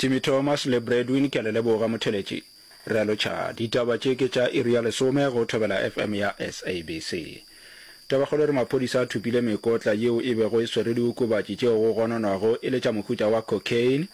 Timmy Thomas le Bradwin ke a le leboga motheletši. Re a lotšha. Ditaba tše ke tša iri ya lesome go Thobela FM ya SABC. Tabakgolo e re maphodisa a thopile mekotla yeo e bego e swere diokobatši tšeo go gononwago e le tša mohuta wa cocaine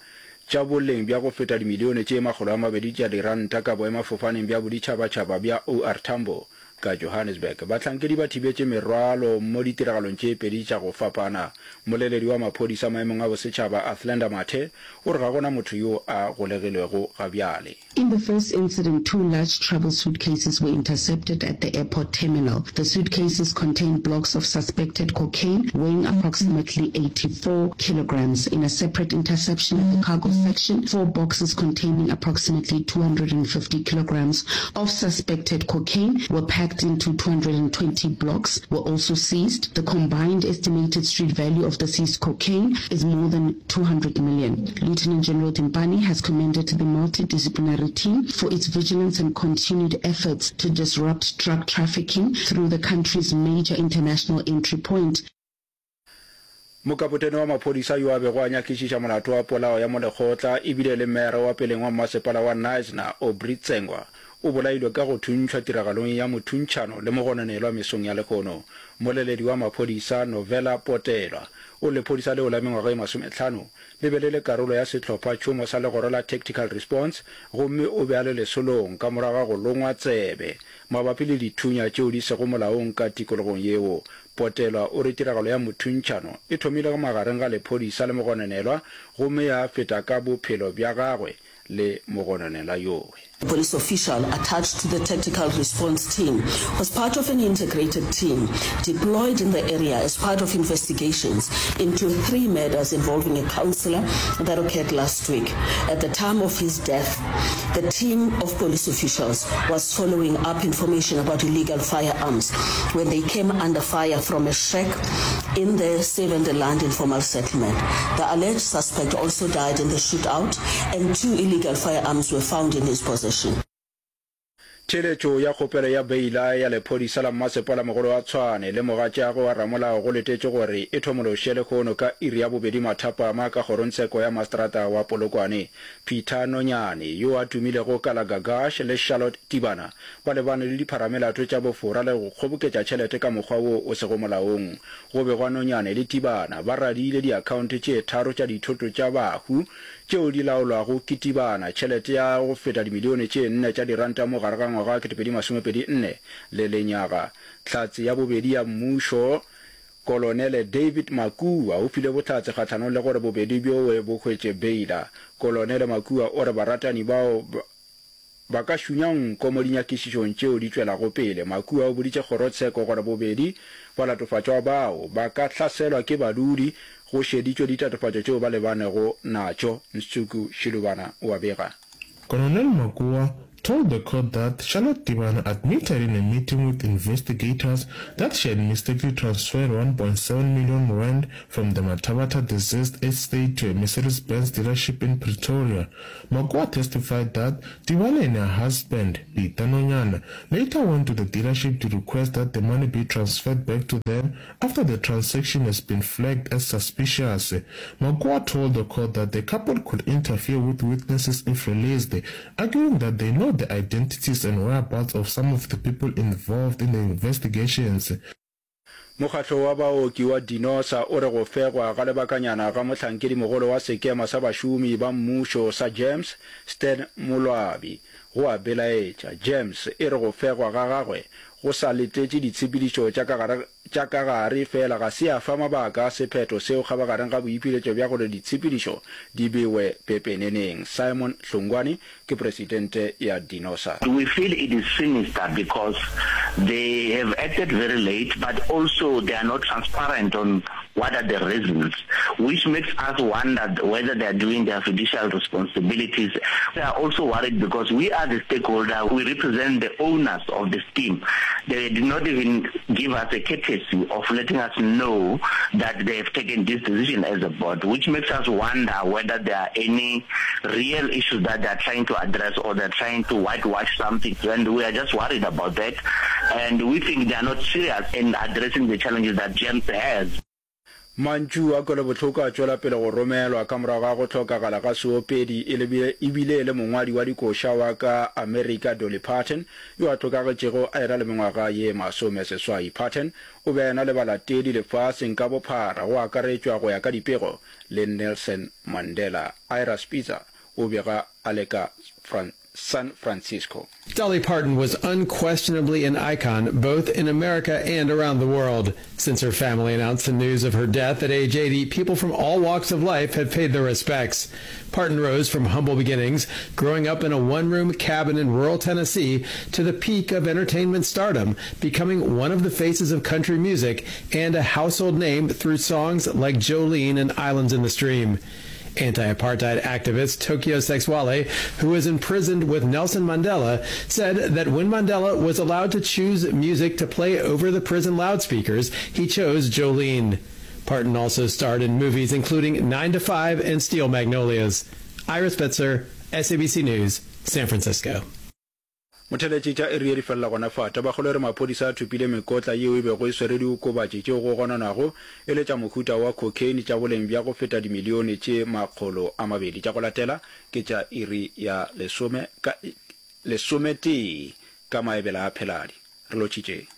tša boleng bja go feta dimilione tše 200 tša diranta ka boemafofaneng bja boditšhabatšhaba bja OR Tambo ka Johannesburg. Bahlankedi ba thibetše merwalo mo ditiragalong tše pedi tša go fapana. Mmoleledi wa maphodisa maemong a bosetšhaba Athlenda Mathe o re ga go na motho yo a golegilwego ga bjale. In the first incident, two large travel suitcases were intercepted at the airport terminal. The suitcases contained blocks of suspected cocaine weighing approximately 84 kilograms. In a separate interception at the cargo section, four boxes containing approximately 250 kilograms of suspected cocaine were packed into 220 blocks were also seized. The combined estimated street value of the seized cocaine is more than 200 million. Lieutenant General Dimpane has commended the multidisciplinary team for its vigilance and continued efforts to disrupt drug trafficking through the country's major international entry point. Mokapotene wa maphodisa yo a bego a nyakišiša molato wa polao ya molekgotla e bile e le meyara wa peleng wa mmasepala wa Knysna, Aubrey Tsengwa, o bolailwe ka go thuntšhwa tiragalong ya mothuntšhano le mogononelwa mesong ya lehono. Mmoleledi wa maphodisa, Novela Potelwa, o re lephodisa leo la mengwaga e masomehlano le be le le karolo ya sehlopha-tšhomo sa legoro la Tactical Response gomme o be a le lesolong ka morago ga go longwa tsebe mabapi le dithunya tšeo di sego molaong ka tikologong yeo. Potelwa o re tiragalo ya mothuntšhano e thomile magareng ga lephodisa le mogononelwa gomme ya feta ka bophelo bja gagwe le mogononelwa yowe. A police official attached to the tactical response team was part of an integrated team deployed in the area as part of investigations into three murders involving a councillor that occurred last week. At the time of his death, the team of police officials was following up information about illegal firearms when they came under fire from a shack in the Seven Land informal settlement. The alleged suspect also died in the shootout and two illegal firearms were found in his possession. Theeletšo ya kgopelo ya beila ya lephodisa la mmasepalamogolo wa Tshwane le mogatšagwe wa ramolao go letetšwe gore e thomološe lehono ka iri ya bobedi mathapama ka kgorongtsheko ya maseterata wa Polokwane. Peter Nonyane, yo a tumilego ka la Gagash le Charlotte Tibana ba lebane le dipharamelato tša bofora le go kgoboketša tšhelete ka mokgwa wo o sego molaong. Go begwa Nonyane le Tibana ba radiile diakhaonte tše tharo tša dithoto tša bahu tšeo di laolwago ke Tibana tšhelete ya go feta dimilione tše nne tša diranta mo gare ga ngwaga wa 2024 le lenyaga. Hlatse ya bobedi ya mmušo, Kolonele David Makua o file bohlatse kgahlanong le gore bobedi bjowe bo hwetše beila. Kolonele Makua o re baratani bao ba ka šunya nko mo dinyakišišong tšeo di tšwelago pele. Makua o boditše kgorotsheko gore bobedi balatofatšwa bao ba ka hlaselwa ke badudi go šeditšwe ditatofatšo tšeo ba lebanego natšo. Ntsuku Shilubana o a bega. Colonel Makua told the court that Charlotte Tibana admitted in a meeting with investigators that she had mistakenly transferred 1.7 million rand from the Mathabatha deceased estate to a Mercedes-Benz dealership in Pretoria. Makua testified that Tibana and her husband, Peter Nonyana, later went to the dealership to request that the money be transferred back to them after the transaction has been flagged as suspicious. Makua told the court that the couple could interfere with witnesses if released, arguing that they know the identities and whereabouts of some of the people involved in the investigations. Mokgatlo wa baoki wa Dinosa o re go fegwa ga lebakanyana ga mohlankedimogolo wa sekema sa bašomi ba mmušo sa GEMS, Stan Moloabi, go a belaetša. GEMS e re go fegwa ga gagwe go sa letetše ditshepedišo tša ka gare tša ka gare fela ga se ya fa mabaka a sephetho seo kgabagareng ga boipiletšo bja gore ditshepedišo di bewe pepeneneng. Simon Hlongwane ke presidente ya Dinosa. We feel it is sinister because they have acted very late but also they are not transparent on what are the reasons which makes us wonder whether they are doing their fiducial responsibilities. We are also worried because we are the stakeholder, we represent the owners of the scheme. They did not even give us a courtesy of letting us know that they have taken this decision as a board, which makes us wonder whether there are any real issues that they are trying to address or they are trying to whitewash something. And we are just worried about that. And we think they are not serious in addressing the challenges that GEMS has. Mantšu a kwelobohloko a tšwela pele go romelwa ka morago ga go hlokagala ga seopedi e le e bile e le mongwadi wa dikoša wa ka Amerika Dolly Parton yo a hlokagetšego a ena le mengwaga ye masomeseswai. Parton o be a ena le balatedi lefaseng ka bophara go akaretšwa go ya ka dipego le Nelson Mandela. Ira Spitzer o bega a le ka San Francisco. Dolly Parton was unquestionably an icon both in America and around the world. Since her family announced the news of her death at age 80, people from all walks of life have paid their respects. Parton rose from humble beginnings, growing up in a one-room cabin in rural Tennessee, to the peak of entertainment stardom, becoming one of the faces of country music and a household name through songs like Jolene and Islands in the Stream. Anti-apartheid activist Tokyo Sexwale, who was imprisoned with Nelson Mandela, said that when Mandela was allowed to choose music to play over the prison loudspeakers, he chose Jolene. Parton also starred in movies including 9 to 5 and Steel Magnolias. Ira Spitzer, SABC News, San Francisco. Motheletši tša iri ye di felela gona fa. Tabakgolo e re maphodisa a thopile mekotla yeo e bego e swere diokobatši tšeo go gononwago e le tša mohuta wa cocaine tša boleng bja go feta dimilione tše 200. Tša go latela ke tša iri ya lesome ka lesometee ka maebela a Pheladi. Re lotšhitšeng.